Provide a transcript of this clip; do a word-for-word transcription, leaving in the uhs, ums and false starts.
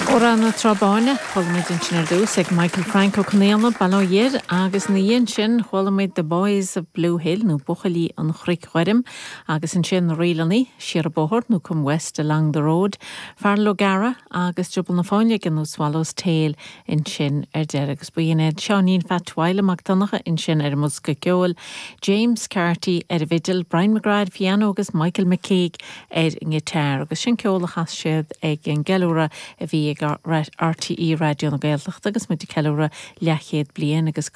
Amhrán na Trá Báine chuala muid ansin ar dtús ag Michael Frank Ó Conaola Baile Dheir agus ina dhiaidh sin chuala muid The Boys of Blue Hill nó Buachaillí an Chnoic Ghoirm agus ansin na Ríleanna Siar an Bóthar nó Come West Along the Road, Feargal O'Gara agus Drioball na Fáinleoige nó Swallow's Tail ansin ar deireadh agus b'in iad Seáinín Phat Mhaidhc Mac Donncha ansin ar an mbosca ceoil, James Carty ar an bhfidil, Brian McGrath piano agus Michael McKeag ar an ngiotár agus sin ceol a chas siad ag an gceiliúradh a bhí ag RTÉ Raidió na Gaeltachta agus muid ag ceiliúradh leathchéad bliain agus